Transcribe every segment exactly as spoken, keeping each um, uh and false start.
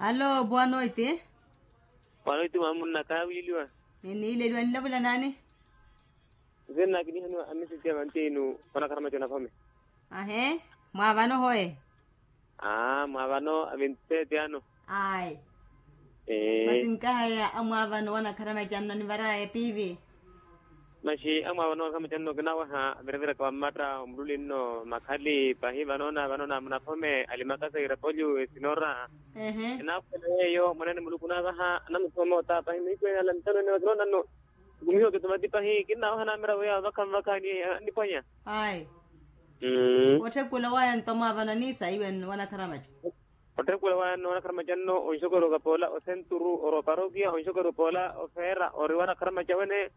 Alo bwanoiti. Bwanoiti mwamunnaka awiiliwa. Niniileliwa nilavula naani? Nzina nakinihaniwa amisiti ya vantinu. Onakharamaca nakhome. Ahe. Mwaavano hoye. Aa mwaavano avintseti ano. Ayi. Masi nkahaya amwaavano wanakharamaca nno nivaraya epiivi. Maxi amwaavano wanakharamaca nno kinawaha aviraviraka wammatta omululi nno makhali pahi vanoona vanoona munakhome alimakasa irapolyu esinora. Ehe. Enaakhwela yeeyo mwaneene muluku naavaha anamuthuma moota pahi mihiku ene ala ntano ene vakinoona nno. Nkumihiwa kitumati pahi kinnawaha namira wiya vakha mvakha annipwanya. Ayi. Otthekhula waya nto mwaavano aniisa iwe wanakharamaca. Otthekhula waya nno wanakharamaca nno onxokori okapoola osenturu ori oparokiya onxokori opoola ofeera ori wanakharamaca wene.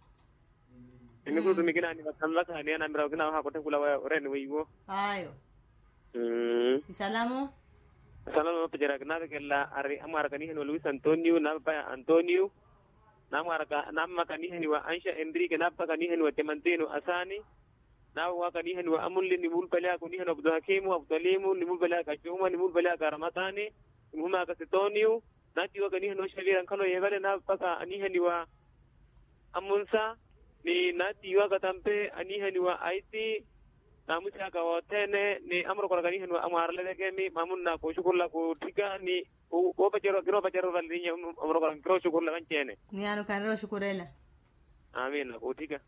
Emikuru tumikina ni vakha mvakha ni anamira okinawaha kotthekhula waya oreni weiwo. Ayo. Isalamu. Isalamu mapacerya kinavekelela ari amwaraka anihaniwa luis antonio na papaya antonio. Namwaraka namma kanihaniwa ansha enrique na papa kanihaniwa temantino asaani. Nawe wakanihaniwa amunli ni mulupale aka onihaniwa abdulhakimu abdulhalimu ni mulupale aka chuma ni mulupale aka ramatani. Ni muhuma aka sitoniyu. Natiiwa kanihaniwa xavira nkhalo yevale na papa kanihaniwa amunsa. Ni natiiwa katampe anihaniwa aiti. Namusi aka wothene ni amurokora kanihaniwa amwarale vekemi mamunna koxukurula kotthika ni woopacerya kinoopacerya oralinya. Amurokora nkirooxukurula vanci-ene. Ni ano khanirooxukurela. Amina kotthika.